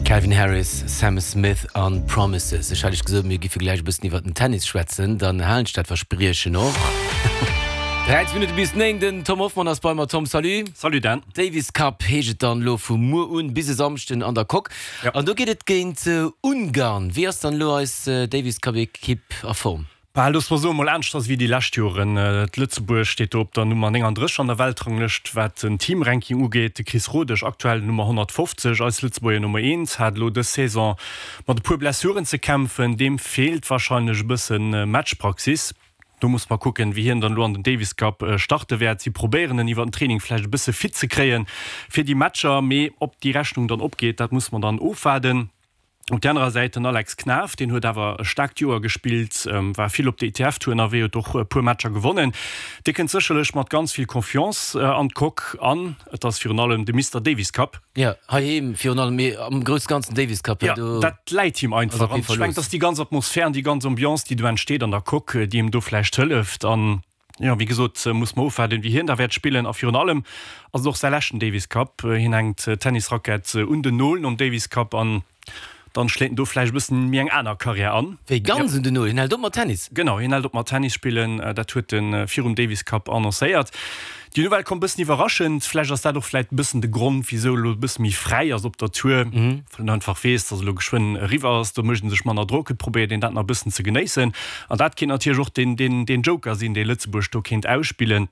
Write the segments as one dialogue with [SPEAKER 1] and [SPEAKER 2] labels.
[SPEAKER 1] Calvin Harris, Sam Smith an Promises. Ech hat iech gesot, mir giffe gläich e bëssen iwwert den Tennis schwätzen. Dann halen ech dat Verspriechen och. 13 Minutte bis 9, den Tom Hoffmann ass bei mer. Tom, salut.
[SPEAKER 2] Salut Dan.
[SPEAKER 1] Davis Cup heescht et dann elo vu muer un bis e Samschden an der Coque. An do geet et géint Ungarn. Wéi ass dann elo eis Davis Cup Ekipp a Form?
[SPEAKER 2] Bah, loosse mer soen, mol aneschters wéi déi lescht Joren. Lëtzebuerg steet do op der Nummer 39 an der Weltranglëscht, wat den Teamranking ugeet. De Chris Rodesch, aktuell Nummer 150, eis Lëtzebuerger Nummer 1, hat elo dës Saison mat e puer Blessuren ze kämpfen. Deem feelt warscheinlech e bësse Matchpraxis. Do musse mer kucken, wéi hien dann elo an den Davis Cup starte wäert. Si probéieren en iwwer den Training vläicht e bësse fit ze kréie fir déi Matcher, mee ob déi Rechnung dann opgeet, dat musse mer dann ofwaarden. Op där anerer Säit den Alex Knaff, deen huet awer e staarkt Joer gespillt, war vill op der ITF-Tour ënnerwee, huet och e puer Matcher gewonnen. Dee kënnt sécherlech mat ganz vill Confiance an d'Coque an et ass virun allem de Mister Davis Cup.
[SPEAKER 1] Jo, heiheem virun allem, mee am grousse Ganzen Davis Cup,
[SPEAKER 2] jo, do dat läit him einfach. An ech mengen, et ass déi ganz Atmosphär an déi ganz Ambiance, déi do entsteet an der Coque, déi him do vläicht hëlleft. An Jo, wéi gesot, muss mer ofwaarden, wéi hien da wäert spillen. A virun allem ass et och säi leschten Davis Cup. Hien hänkt d'Tennisrackett un den Nol nom Davis Cup an dann schléit en do vläicht e bëssen méi eng aner Karriär an.
[SPEAKER 1] Wéi ganz un den Nol? Hien hält op mat Tennis?
[SPEAKER 2] Genau, hien hält op mat Tennis spillen. Dat huet e virum Davis Cup annoncéiert. Déi Nouvelle komm bëssen iwwerraschend. Vläicht ass dat och vläicht e bëssen de Grond, wisou e lo e bësse méi fräi ass op der Tour, well en einfach weess, datt e lo geschwënn eriwwer ass. Do mécht en sech manner Drock, et probéiert een dat nach e bëssen ze genéissen. An dat kéint natierlech och deen, deen, deen Joker sinn, dee Lëtzebuerg do kéint ausspillen.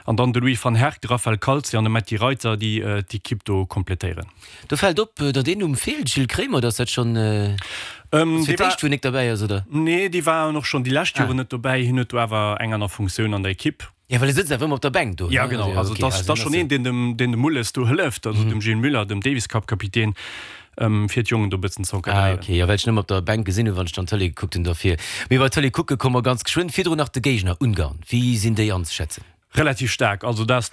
[SPEAKER 2] An dann de Louis van Herck, de Raphael Calzi an de Metti Reiter, déi d'Ekipp do kompletéieren.
[SPEAKER 1] Do fält op, datt een Numm feelt, Gilles Kremer. Ass dat schonn fir d'éischt, wou en nik derbäi ass, oder?
[SPEAKER 2] Nee, dee war och schonn déi lescht Joren net dobäi. Hien huet do awer eng aner Funktioun an der Ekipp.
[SPEAKER 1] Jo, well e sëtzt awer ëmmer op der Bänk do, ne?
[SPEAKER 2] Ja, genau. Also et ass schonn een, deen dem, deen dem Mulles do hëlleft, also dem Gilles Muller, dem Davis-Cup-Kapitän, fir d'Jongen do e bëssen ze
[SPEAKER 1] encadréieren. Ah, okay. Jo, well ech en ëmmer op der Bänk gesinn hunn, wann ech dann d'Tëlee gekuckt hunn. Dofir. Mee bei d'Tëlee kucke komme mer ganz geschwënn. Virdrun nach de Géigner, Ungarn. Wéi sinn déi anzeschätzen?
[SPEAKER 2] Relativ staark. Also dat ass.